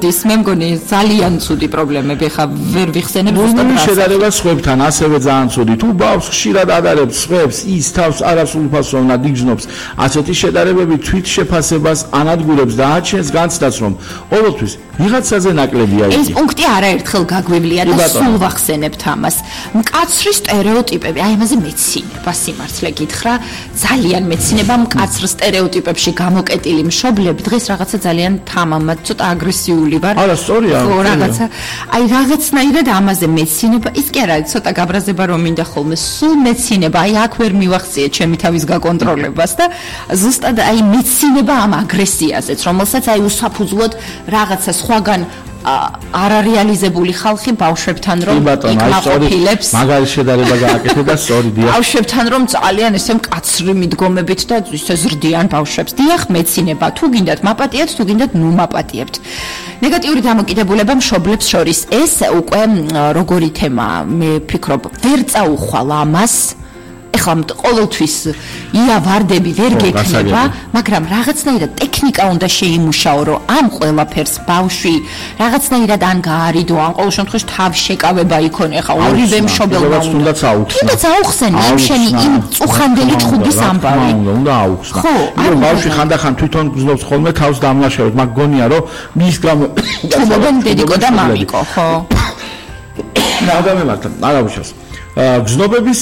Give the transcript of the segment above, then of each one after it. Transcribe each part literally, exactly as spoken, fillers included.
მოდის, მე მგონი ძალიან ცუდი პრობლემები ხა ვერ ვიხსენებ ზუსტად რა. შედარება სხვებთან ასევე ძალიან ცუდი. თუ ბავშვს ხშირად ადარებს სხვებს, ის თავს არასრულფასოვნად იგრძნობს. ასეთი შედარებები თვით შეფასებას ანადგურებს და აჩენს განცდას, რომ ყოველთვის ვიღაცაზე ნაკლებია იგი. ეს პუნქტი არაერთხელ გაგვივლია და სულ ვახსენებთ ამას. მკაცრი სტერეოტიპები, აი ამაზე მეცინება სიმართლე გითხრა, ძალიან მეცინება მკაცრ სტერეოტიპებში გამოკეტილი მშობლები დღეს რაღაცა ძალიან თამამად, ცოტა აგრესიული ვარ. არა, სწორია. ხო, რაღაცა. აი რაღაცნაირად ამაზე მეცინება, ის კი არა, ცოტა გაბრაზება რომ მინდა ხოლმე, სულ მეცინება, აი აქ ვერ მივახციე ჩემი თავის გაკონტროლებას და ზუსტად აი მეცინება ამ აგრესიაზეც, რომელსაც აი უსაფუძვლოდ რაღაცა სხვაგან არარეალიზებული ხალხი ბავშვებთან რომ იკმაყოფილებს. მაგარი შედარება გააკეთე და სწორი დიახ. ბავშვებთან რომ ძალიან ესე მკაცრი მიდგომებით და ისე ზრდიან ბავშვებს. დიახ, მეცინება. თუ გინდათ მაპატიეთ, თუ გინდათ ნუ მაპატიებთ. ნეგატიური დამოკიდებულება მშობლებს შორის. ეს უკვე როგორი თემაა, მე ვფიქრობ, ვერ წაუხვალ ამას. ეხლა ყოველთვის იავარდები ვერ გექნება, მაგრამ რაღაცნაირად ტექნიკა უნდა შეიმუშაო, რომ ამ ყველაფერს ბავშვი რაღაცნაირად ან გაარიდო, ან ყოველ შემთხვევაში თავშეკავება იქონე, ხა ორივე მშობელმა უნდა. თუნდაც აუხსნა. თუნდაც აუხსნა იმ შენი იმ წუხანდელი ჭხუდის ამბავი. უნდა აუხსნა. ხო, ბავშვი ხანდახან თვითონ გრძნობს ხოლმე თავს დამლაშავებს, მაგ გონია რომ მის გამო თუმობენ დედიკო და მამიკო, ხო. რა დამემართა, არა უშავს. გრძნობების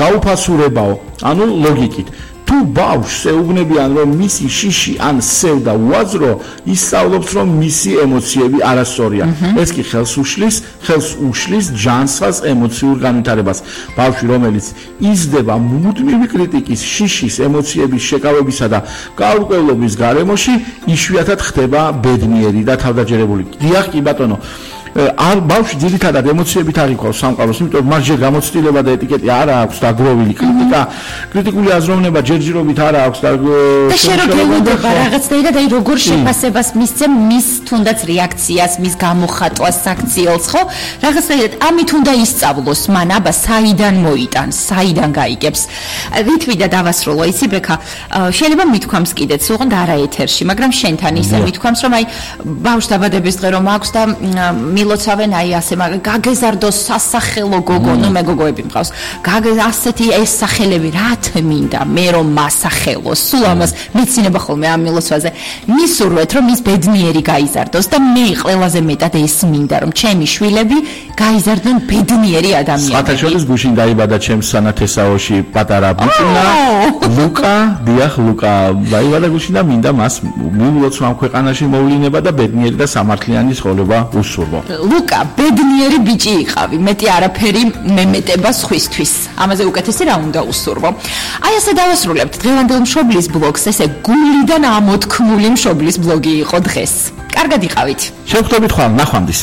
გაუფასურებაო, ანუ ლოგიკით. თუ ბავშვს ეუბნებიან, რომ მისი შიში ან სევდა უაზრო, ისწავლობს, რომ მისი ემოციები არასწორია. ეს კი ხელს უშლის, ხელს უშლის ჯანსაღ ემოციურ განვითარებას. ბავშვი, რომელიც იზრდება მუდმივი კრიტიკის, შიშის, ემოციების შეკავებისა და გაურკვევლობის გარემოში, იშვიათად ხდება ბედნიერი და თავდაჯერებული. დიახ, კი ბატონო. არ ბავშვი ძირითადად ემოციებით არ იქავს სამყაროს, იმიტომ რომ მას ჯერ გამოცდილება და ეტიკეტი არ აქვს და გროვილი კრიტიკა, კრიტიკული აზროვნება ჯერჯერობით არ აქვს და შეერთება რაღაცნაირად, აი როგორ შეფასებას მისცემ მის თუნდაც რეაქციას, მის გამოხატვას, საქციელს, ხო? რაღაცნაირად ამით უნდა ისწავლოს, მან აბა საიდან მოიტანს, საიდან გაიგებს. ვითვიდა დავასრულო, იცი ბექა, შეიძლება მithქვამს კიდეც, ოღონდ არა ეთერში, მაგრამ შენთან ისე მithქვამს, რომ აი ბავშვ დაბადების დღე რომ აქვს და მილოცავენ აი ასე მაგრამ გაგეზარდოს სასახელო გოგო, ნუ მე გოგოები მყავს. გაგე ასეთი ეს სახელები რა თმინდა, მე რომ მასახელოს. სულ ამას მეცინება ხოლმე ამ მილოცვაზე. მისურვეთ რომ ის ბედნიერი გაიზარდოს და მე ყველაზე მეტად ეს მინდა რომ ჩემი შვილები გაიზარდონ ბედნიერი ადამიანები. საათაშორის გუშინ დაიბადა ჩემს სანათესაოში პატარა ბიჭუნა ლუკა, დიახ ლუკა დაიბადა გუშინ და მინდა მას მივულოცვა ამ ქვეყანაში მოვლინება და ბედნიერი და სამართლიანი ცხოვრება უსურვო. ლუკა, ბედნიერი ბიჭი იყავი, მეტი არაფერი მემეტება სხვისთვის. ამაზე უკეთესი რა უნდა უსურვო. აი ასე დავასრულებთ დღევანდელ მშობლის ბლოგს, ესე გულიდან ამოთქმული მშობლის ბლოგი იყო დღეს. კარგად იყავით. შევხვდებით ხვალ, ნახვამდის.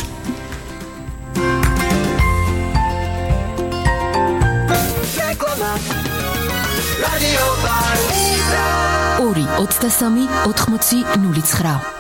ორი ოცდასამი ოთხმოცი ნული ცხრა